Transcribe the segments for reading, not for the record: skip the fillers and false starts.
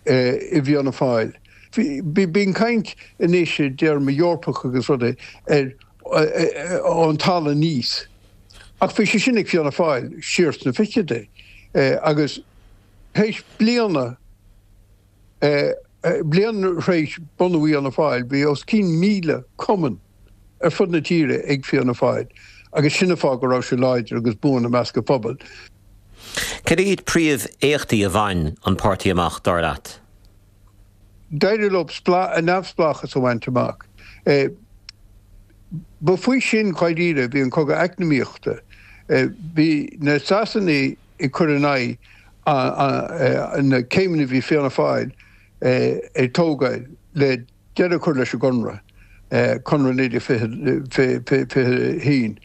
i bhFianna Fáil. Bíonn caint anois i dtéarmaí Eorpach agus rudaí ar ón talamh aníos. Ach bhí sé sin ag Fianna Fáil siar sna fichidí agus théis bliana, bliain thréis bunú Fhianna Fáil, bhí os cionn 1,000 cumann ar fud na tíre ag Fianna Fáil agus sin an fáth go raibh sé láidir agus buan i measc an phobail. Cad iad príomh-éachtaí a bhain an páirtí amach, dar leat? D'éirigh leo neamhspleáchas a bhaint amach. Ba faoi sin, dháiríre, a bhí an cogadh eacnamaíochta. Bhí na Sasanaigh ag cur in aghaidh na céimeanna a bhí Fianna Fáil ag tógáil le deireadh a chur leis an gConradh, Conradh 1921,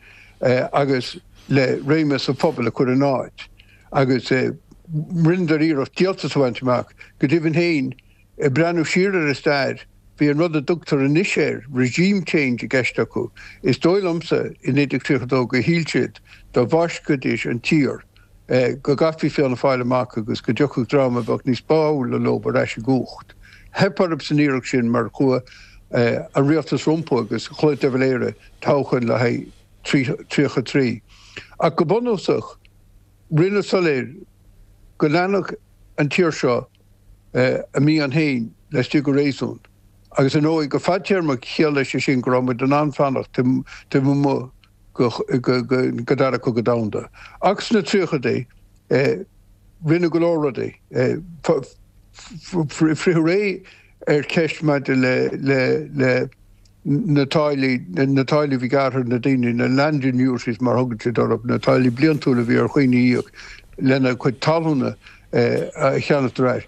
agus le réimeas an phobail a chur ina áit. Agus rinneadar iarracht díoltas a bhaint amach. Go deimhin féin, ag breathnú siar ar an stair, bhí an rud a dtugtar anois air regime change i gceist acu. Is dóigh liomsa, i 1932, gur shíl siad dá bhfáiscfidís an tír, go gcaithfí Fianna Fáil amach agus go dtiocfadh dream a bheadh níos báúla leo ar ais i gcumhacht. Theip orthu san iarracht sin mar chuaigh an rialtas rompu agus chloígh de Valera toghchán le haghaidh 33. Ach go bunúsach, rinneadh soiléir go leanfadh an tír seo a mian féin laistigh de réasún. Agus ar ndóigh, go fadtéarmach chiallaigh sé sin go raibh muid in ann fanacht taobh amuigh go Dara Cogadh Domhanda. Ach sna tríochaidí, rinneadh go leor rudaí. Fritheadh réidh ar cheist maidir le na táillí, na táillí a bhí gearrtha ar na daoine, na land annuities mar a thugann siad orthu, na táillí bliantúla a bhí ar dhaoine a íoc lena gcuid talúna a cheannacht ar ais.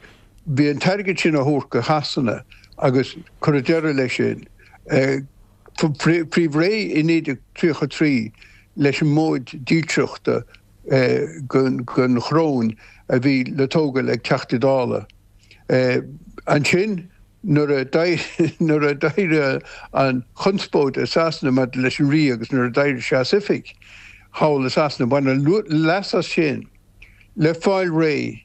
Bhí an t-airgead sin á thabhairt go Shasana agus cuireadh deireadh leis sin. Fritheadh réidh i 1933 leis an móid dílseachta don choróin a bhí le tógáil ag Teachtaí Dála. Ansin, nuair a d'éirigh an chonspóid i Sasana maidir leis an Rí agus nuair a d'éirigh sé as oifig thall i Sasana, baineadh leas as sin le fáil réidh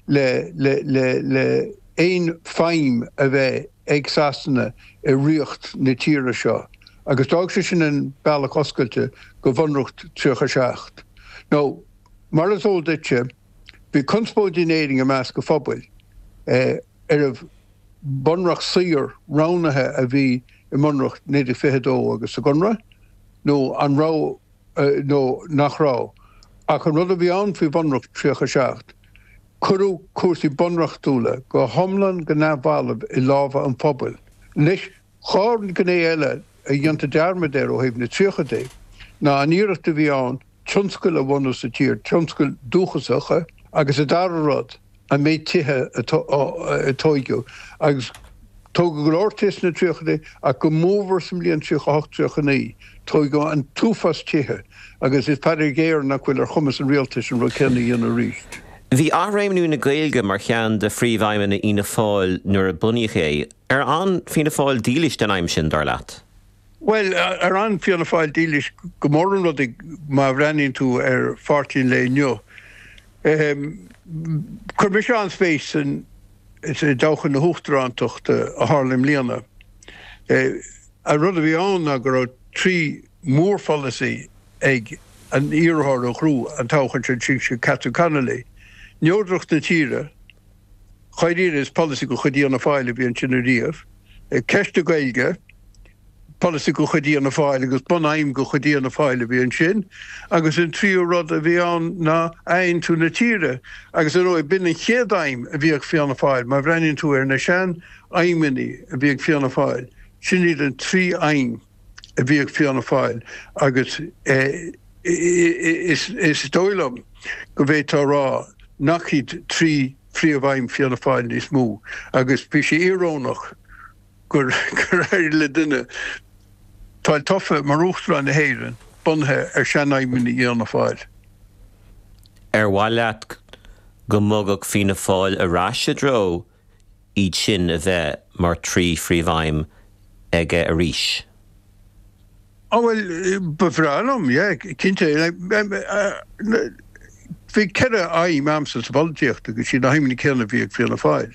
le le aon feidhm a bheith ag Sasana i ríocht na tíre seo agus d'fhág sé sin an bealach oscailte go Bhunreacht 37. Nó, mar is eol duitse, bhí conspóid in Éirinn i measc an phobail arbh bunreacht saor roghnaithe a bhí i mBunreacht 1922 agus sa gConradh nó an raibh nó nach raibh. Ach an rud a bhí ann faoi Bhunreacht 37, cuireadh cúrsaí bunreachtúla go hiomlán go neamhbhalbh i lámha an phobail. Anois, dhá ghné eile a dhéantar dearmad air ó thaobh na tríochaidí ná an iarracht a bhí ann tionscail a bhunú sa tír, tionscail dúchasacha, agus an dara rud, an méid tithe a tóigeadh. Agus tógadh go leor tithe sna tríochaidí ach go mórmhór sa mbliain 38, 39, tóigeadh an t-uafás tithe agus is faitíos géar nach bhfuil ar chumas an rialtais an rud céanna a dhéanamh arís. Bhí athréimniú na Gaeilge mar cheann de phríomhaidhmeanna Fhianna Fáil nuair a bunaíodh é. Ar fhan Fianna Fáil dílis don aidhm sin, dar leat? Bhuel, ar fhan Fianna Fáil dílis go mórán rudaí má bhreathnaíonn tú ar pháirtí an lae inniu. Chuir mise an-spéis i dtoghchán na huachtarántachta a tharla i mbliana. An rud a bhí ann ná go raibh trí mhórpholasaí ag an iarrthóir a ghnóthaigh an toghchán sin, sin Catherine Connolly, neodracht na tíre, dháiríre is polasaí de chuid Fhianna Fáil a bhí ansin ariamh, ceist na Gaeilge, polasaí de chuid Fhianna Fáil agus bunaidhm de chuid Fhianna Fáil a bhí ansin, agus an tríú rud a bhí ann ná athaontú na tíre. Agus ar ndóigh, b'in an chéad aidhm a bhí ag Fianna Fáil. Má bhreathnaíonn tú ar na sean-aidhmeanna a bhí ag Fianna Fáil, sin iad an trí aidhm a bhí ag Fianna Fáil agus is dóigh liom go bhféadfá a rá nach iad trí phríomh-aidhm Fianna Fáil níos mó agus bhí sé íorónach gur éirigh le duine fáil tofa mar Uachtarán na hÉireann bunaithe ar sean-aidhmeanna Fhianna Fáil. Ar mhaith leat go mbogfadh Fianna Fáil ar ais i dtreo iad sin a bheith mar thrí phríomhaidhm aige arís? Á bhuel, ba bhreá liom, yeah, cinnte. Bhí ceithre aidhm a'msa sa pholaitíocht agus siad na haidhmeanna céanna a bhí ag Fianna Fáil.